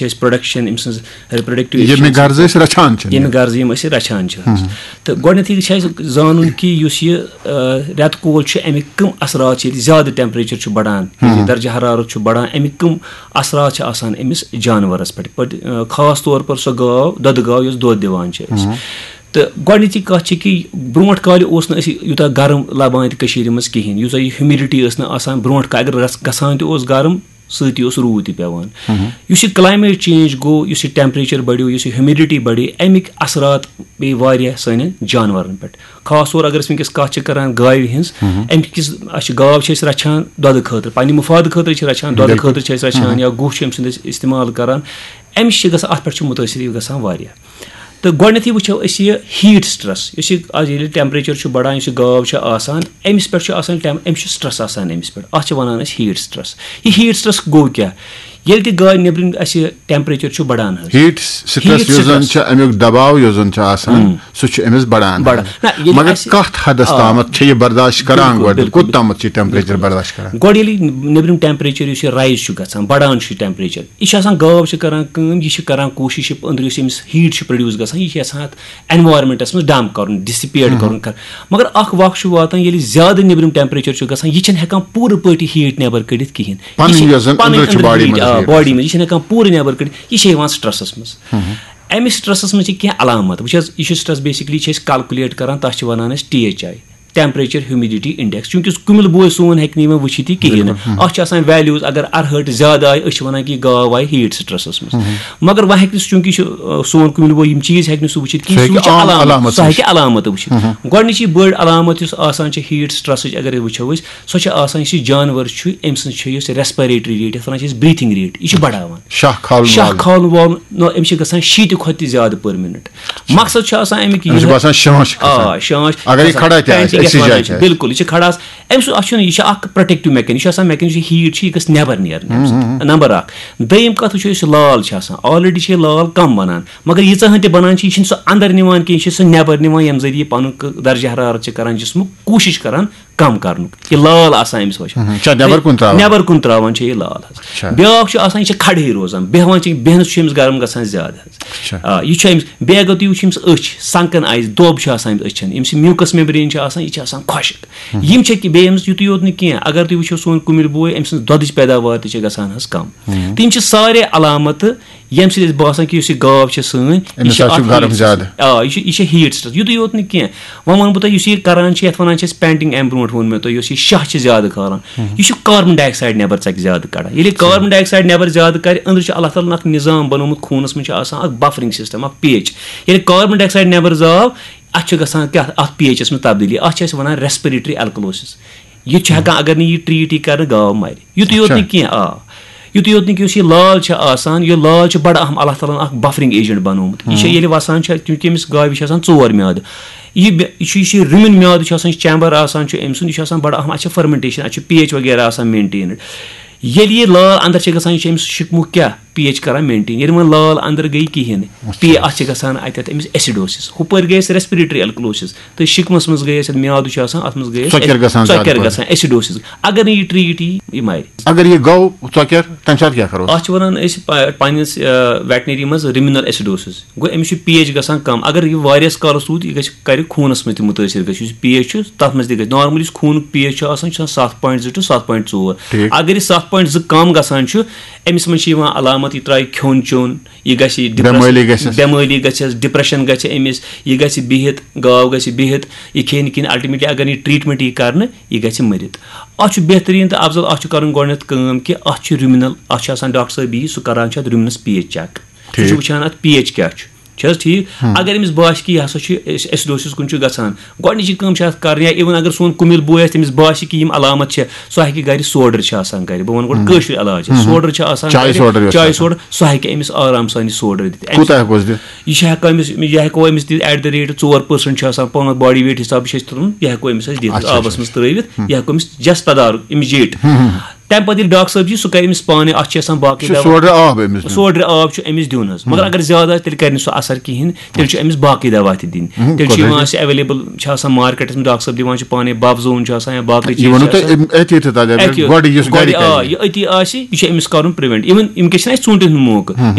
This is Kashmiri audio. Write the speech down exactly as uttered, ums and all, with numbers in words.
چھِ اَسہِ پروڈکشن، أمۍ سٕنٛز ریپروڈکٹیو، ییٚمہِ غرضہٕ أسۍ رَچھان چھِ۔ ییٚمہِ غرضہٕ یِم أسۍ رَچھان چھِ۔ تہٕ گۄڈٕنیتھٕے چھِ اَسہِ زانُن کہِ یُس یہِ، آ، رٮ۪تہٕ کول چھُ، اَمِکۍ کٕم اثرات چھِ، ییٚلہِ زیادٕ ٹیمپریچر چھُ بڑان، ییٚلہِ درجہ حرارت چھُ بڑان، اَمِکۍ کٕم اثرات چھِ آسان أمِس جانورس پٮ۪ٹھ، پٲٹھۍ، آ، خاص طور پر سۄ گاو، دۄدٕ گاو یۄس دۄد دِوان چھِ اَسہِ۔ تہٕ گۄڈٕنِچی کَتھ چھِ کہِ برونٛٹھ کالہِ اوس نہٕ أسۍ یوٗتاہ گرم لَبان تہِ کٔشیٖرِ منٛز کِہیٖنۍ، یوٗتاہ یہِ ہیوٗمِڈِٹی ٲس نہٕ آسان برونٛٹھ کالہِ۔ اگر گژھ-، گژھان تہِ اوس گرم، سۭتی اوس روٗد تہِ پٮ۪وان۔ یُس یہِ کلایمیٹ چینج گوٚو، یُس یہِ ٹیمپریچر بڑیو، یُس یہِ ہیومڈٹی بڑے، اَمِکۍ اثرات پیٚیہِ واریاہ سانٮ۪ن جانورن پٮ۪ٹھ۔ خاص طور اگر أسۍ وٕنکیٚس کَتھ چھِ کران گاوِ ہٕنٛز، اَمہِ کِس، اَسہِ چھِ گاو چھِ أسۍ رَچھان دۄدٕ خٲطرٕ، پننہِ مُفادٕ خٲطرٕ چھِ رَچھان، دۄدٕ خٲطرٕ چھِ أسۍ رَچھان یا گُہہ چھِ أمۍ سُنٛد أسۍ استعمال کران، اَمہِ سۭتۍ چھِ گژھان، اَتھ پٮ۪ٹھ چھُ مُتٲثر یہِ گژھان واریاہ۔ تہٕ گۄڈٕنیتھٕے وٕچھو أسۍ یہِ ہیٖٹ سٹرٛس، یُس یہِ آز ییٚلہِ ٹیمپریچر چھُ بڑان، یُس یہِ گاو چھِ آسان، أمِس پٮ۪ٹھ چھُ آسان ٹیم-، أمِس چھُ سٹرٛس آسان أمِس پٮ۪ٹھ۔ اَتھ چھِ وَنان أسۍ ہیٖٹ سٹرٛس۔ یہِ ہیٖٹ سٹرٛس گوٚو کیٛاہ؟ ییٚلہِ تہِ گاوِ نیٚبرِم اَسہِ ٹیمپریچر چھُ بڑان حظ۔ ہیٖٹ سٹرٛس، ہیٖٹ یُس زَن سٹرٛس۔ چھُ، اَمیُک دباو یُس زَن چھُ آسان، سُہ چھُ أمِس بڑان۔ بڑان۔ نہ، ییٚلہِ مگر اَسہِ کَتھ حدس آ۔ تامَتھ چھِ یہِ برداشت کران بِلکُل، گۄڈٕ؟ بِلکُل۔ کوٚت تامَتھ چھِ یہِ ٹیمپریچر برداشت کران؟ گۄڈٕ ییٚلہِ نیٚبرِم ٹیمپریچر یُس یہِ رایز چھُ گژھان، بڑان چھُ ٹیمپریچر، یہِ چھُ آسان، گاو چھِ کران کٲم، یہِ چھِ کران کوٗشش، یہِ أنٛدرٕ یُس أمِس ہیٖٹ چھُ پروڈیوس گژھان، یہِ چھِ یَژھان اَتھ انوارمنٹس منٛز ڈمپ کرُن، ڈسپیٹ کرُن کر۔ مگر اکھ وقت چھُ واتان، ییٚلہِ زیادٕ نیٚبرِم ٹیمپریچر چھُ گژھان، یہِ چھَنہٕ ہٮ۪کان پوٗرٕ پٲٹھۍ یہِ ہیٖٹ نٮ۪بر کٔڑِتھ کِہینۍ۔ یہِ پنٕنۍ چھِ یۄس زن پنٕنۍ أنٛدرٕ چھِ أنٛدرٕ باڈی ہیٖٹ، منٛز آ، ہیٖٹ باڈی آسان۔ منٛز، یہِ چھَنہٕ ہٮ۪کان پوٗرٕ نٮ۪بر کٔڑِتھ، یہِ چھِ یِوان سٹرٛسس منٛز۔ اَمہِ سٹرٛسس منٛز چھِ کینٛہہ علامت۔ وٕچھ حظ، یہِ چھُ سٹرٛس بیسکلی چھِ أسۍ کلکولیٹ کران، تَتھ چھِ وَنان أسۍ T H I, temperature humidity index. چوٗنٛکہِ یُس کُمِل بوے سون ہیٚکہِ نہٕ یِمن وٕچھِتھ یہِ کِہینۍ نہٕ۔ اَتھ چھِ آسان ویلیوز، اگر اَرہٲٹھ زیادٕ آیہِ، أسۍ چھِ وَنان کہِ یہِ گاو آیہِ ہیٖٹ سٹرٛسس منٛز۔ مگر وۄنۍ ہیٚکہِ نہٕ سُہ، چوٗنٛکہِ یہِ چھُ، آ، سون کُمِل بوے یِم چیٖز ہیٚکہِ نہٕ سُہ وٕچھِتھ کِہینۍ، سُہ سُہ ہیٚکہِ وٕچھِ عام علامت، علامت سُہ ہیٚکہِ علامت وٕچھِتھ۔ گۄڈٕنِچی بٔڑ علامت یُس آسان چھِ ہیٖٹ سٹرٛسٕچ، اگر أسۍ وٕچھو أسۍ، سۄ چھِ آسان، یُس یہِ جانور چھُ، أمۍ سٕنٛز چھِ یۄس ریسپریٹری ریٹ، یَتھ وَنان چھِ أسۍ بریٖتھنگ ریٹ، یہِ چھِ بڑاوان۔ شاہ کھالُن شاہ والُن۔ کھالُن والُن، نہ، أمِس چھِ گژھان شیٖتہِ کھۄتہٕ تہِ زیادٕ پٔر مِنٹ۔ مقصد چھُ آسان اَمیُک أمِس چھُ یِہوٚے۔ باسان شانٛش کھسان۔ آ، شانٛش اگر یہِ کھسان۔ کھڑا تہِ آسہِ، پینٹنگ یَتھ أکسٕے وَنان جایہِ چھِ۔ تہِ آسہِ۔ بِلکُل، یہِ چھِ کھڑا آسان۔ أمۍ سُنٛد، اَتھ چھُنہٕ، یہِ چھِ اکھ پروٹیکٹیو میکین، یہِ چھُ آسان میکین، یُس یہِ ہیٖٹ چھِ، یہِ گژھِ نٮ۪بر نیرٕنۍ اَمہِ سۭتۍ۔ نمبر اکھ۔ دوٚیِم کَتھ وٕچھو، یُس یہِ لال چھِ آسان، آلریڈی چھِ یہِ لال کم بَنان، مگر ییٖژاہ ہن تہِ بَنان چھِ، یہِ چھِنہٕ سُہ اَندر نِوان کینٛہہ، یہِ چھِ سُہ نٮ۪بر نِوان، ییٚمہِ ذٔریعہٕ یہِ پَنُن کہٕ-، درجہ حرارت چھِ کران جسمُک، کوٗشِش کران کم کرنُک۔ یہِ لال آسان أمِس وٕچھان۔ چھا نٮ۪بر کُن ترٛاوان؟ نٮ۪بر کُن ترٛاوان چھِ یہِ لال حظ۔ اچھا۔ بیٛاکھ چھُ آسان، یہِ چھِ کھڑہٕے روزان، بیٚہوان چھِ، بیٚہنَس چھُ أمِس گرم گژھان زیادٕ حظ۔ اچھا۔ آ، یہِ چھُ أمِس، بیٚیہِ اگر تُہۍ وٕچھِو، أمِس أچھ، سنکن آیِس، دۄب چھُ آسان أمِس أچھن، أمِس یہِ میوٗکس میمبرین چھِ آسان، یہِ چھِ آسان خۄشک۔ یِم چھِ کہِ بیٚیہِ أمِس یُتُے یوت نہٕ کینٛہہ، اگر تُہۍ وٕچھِو سون کُمِل بوے، أمۍ سٕنٛز دۄدٕچ پیداوار تہِ چھِ گژھان حظ کم۔ تہٕ یِم چھِ سارے علامتہٕ، ییٚمہِ سۭتۍ اَسہِ باسان کہِ یُس یہِ گاو چھِ سٲنۍ، یہِ أمِس چھِ حظ چھُ اکھ گرم ہیٖٹ زیادٕ۔ سٹرٛس۔ آ، یہِ چھُ، یہِ چھِ ہیٖٹ سٹرٛس۔ یُتُے یوت نہٕ کینٛہہ، وۄنۍ وَنہٕ بہٕ تۄہہِ، یُس یہِ کران چھِ، یَتھ وَنان چھِ أسۍ پینٹنگ، اَمہِ برونٛٹھ ووٚن مےٚ تۄہہِ، یُس یہِ شاہ چھِ زیادٕ کھالان، یہِ چھُ کاربن ڈاے آکسایڈ نٮ۪بر ژَکہِ زیادٕ کَڑان۔ ییٚلہِ یہِ کاربن ڈاے آکسایڈ نٮ۪بر زیادٕ کَڑِ، أنٛدرٕ چھُ اللہ تعالیٰ ہَن اکھ نظام بنوومُت، خوٗنَس منٛز چھُ آسان اکھ بفرنگ سسٹم، اکھ پیچ۔ ییٚلہِ کاربن ڈاے آکسایڈ نٮ۪بر زاو، اَتھ چھُ گژھان کیٛاہ؟ اَتھ پیچَس منٛز تبدیٖلی۔ اَتھ چھِ أسۍ وَنان ریسپریٹری الکلوسس۔ یہِ تہِ چھُ ہٮ۪کان، اگر نہٕ یہِ ٹریٖٹ یی کرنہٕ، گاو مَرِ۔ یُتُے یوت نہٕ کینٛہہ، آ، یُتُے یوت نہٕ کینٛہہ، یُس یہِ لال چھِ آسان، یہِ لال چھِ بڑٕ اہم، اللہ تعالیٰ ہَن اکھ بفرنگ ایجنٹ بنوومُت۔ یہِ چھِ ییٚلہِ وَسان چھِ، چوٗنٛکہِ أمِس گاوِ چھِ آسان ژور میادٕ۔ یہِ بے-، یہِ چھُ، یُس یہِ رُمِن میادٕ چھُ آسان، یہِ چیمبر آسان چھُ أمۍ سُنٛد، یہِ چھُ آسان بڑٕ اہم، اَتھ چھِ فرمنٹیشن، اَتھ چھُ پیچ وغیرہ آسان مینٹینڈ۔ ییٚلہِ یہِ لال اندر چھِ گژھان، یہِ چھُ أمِس شِکمُک کیٛاہ؟ پیچ کران مینٹین۔ ییٚلہِ وۄنۍ لال اندر گٔے کِہینۍ، پے-، اَتھ چھِ گژھان اَتٮ۪تھ أمِس ایسیڈوسس۔ ہُپٲرۍ گٔے اَسہِ ریسپریٹری الکلوسس، تہٕ شِکمَس منٛز گٔے اَسہِ، ییٚتہِ میادٕ چھُ آسان، اَتھ منٛز گٔے اَسہِ ژۄکیر گژھان زیادٕ ژۄکیر پَہَن۔ گژھان، ایسیڈوسس۔ اگر نہٕ یہِ ٹریٖٹ یی، یہِ مَرِ۔ اگر یہِ گوٚو ژۄکیر، تَمہِ ساتہٕ کیٛاہ کَرو؟ اَتھ چھِ وَنان أسۍ پَ-، پنٛنِس، آ، ویٹنری منٛز رِمِنل ایسیڈوسس۔ گوٚو أمِس چھُ پیچ گژھان کم۔ اگر یہِ واریاہَس کالَس روٗد، یہِ گژھِ، کَرِ خوٗنَس منٛز تہِ مُتٲثر گژھِ۔ یُس یہِ پیچ چھُ، تَتھ منٛز تہِ گژھِ۔ نارملی یُس خوٗنُک پیچ چھُ آسان، یہِ چھُ آسان ستھ point زٕ to ستھ point ژور۔ ٹھیٖک۔ اگر یہِ ستھ point زٕ کم گژھان چھُ، أمِس منٛز چھِ یِوان علامت، یہِ ترٛایہِ کھیوٚن چیوٚن، یہِ گژھِ ڈپریس-، بٮ۪مٲلی گژھٮ۪س۔ بٮ۪مٲلی گژھٮ۪س، ڈپریشن گژھِ أمِس، یہِ گژھِ بِہِتھ، گاو گژھِ بِہِتھ، یہِ کھیٚیہِ نہٕ کِہیٖنۍ۔ الٹیمیٹلی اگر نہٕ یہِ ٹریٖٹمنٹ یی کرنہٕ، یہِ گژھِ مٔرِتھ۔ اَتھ چھُ بہتریٖن تہٕ افضل، اَتھ چھُ کرُن گۄڈٕنٮ۪تھ کٲم کہِ اَتھ چھُ رُمِنل، اَتھ چھُ آسان ڈاکٹر صٲب یی، سُہ کران چھُ اَتھ رُمِنس پیچ چیک۔ سُہ چھُ ٹھیٖک۔ وٕچھان اَتھ پیچ کیٛاہ چھُ۔ چھِ حظ ٹھیٖک؟ اگر أمِس باسہِ کہِ یہِ ہسا چھُ ایسیڈوسس کُن چھُ گژھان، گۄڈٕنِچی کٲم چھِ اَتھ کرٕنۍ، یا even اگر سون کُمِل بوے آسہِ، تٔمِس باسہِ کہِ یِم علامت چھِ، سُہ ہیٚکہِ گرِ سوڈر چھِ آسان گرِ، بہٕ وَنہٕ گۄڈٕ کٲشُر علاج، سوڈر چھِ آسان چاے گرِ، سوڈر یۄس چاے آسان۔ سوڈر، سُہ ہیٚکہِ أمِس آرام سان یہِ سوڈر دِتھ۔ أمِس کوٗتاہ ہیٚکوس دِتھ؟ یہِ چھِ ہٮ۪کان أمِس، یہِ ہٮ۪کو أمِس دِتھ at the rate ژور percent چھُ آسان، پانٛژھ body weight حساب چھِ أسۍ تُلُن، یہِ ہٮ۪کو أمِس أسۍ دِتھ، اچھا، آبس اچھا۔ منٛز ترٲوِتھ، یہِ ہٮ۪کو أمِس just تدارُک، أمِس جیٹ۔ تَمہِ پَتہٕ ییٚلہِ ڈاکٹر صٲب یی، سُہ کَرِ أمِس پانَے، اَتھ چھِ آسان باقٕے چھُ دوا۔ سوڈرِ آب أمِس دیُن۔ سوڈرِ آب چھُ أمِس دیُن حظ، مگر اگر زیادٕ آسہِ، تیٚلہِ کَرِ نہٕ سُہ اَثر کِہیٖنۍ، تیٚلہِ چھُ أمِس باقٕے دوا تہِ دِنۍ۔ تیٚلہِ چھُ قۄدرٔتی۔ یِوان اَسہِ ایویلیبل چھِ آسان مارکیٹَس منٛز، ڈاکٹر صٲب دِوان چھِ پانَے، بَب زوٗن چھُ آسان یا باقٕے یہِ چیٖز ووٚنوٕ چھِ تۄہہِ آسان۔ أمۍ أتھی تہِ تَتہِ، اگر اَتہِ گۄڈٕ یُس گَرِ گۄڈٕ آ، کَرِ۔ یہِ أتی آسہِ، یہِ چھُ أمِس کَرُن پرٛوینٹ۔ اِوٕن وٕنکیٚس چھِنہٕ اَسہِ ژوٗنٛٹھٮ۪ن ہُنٛد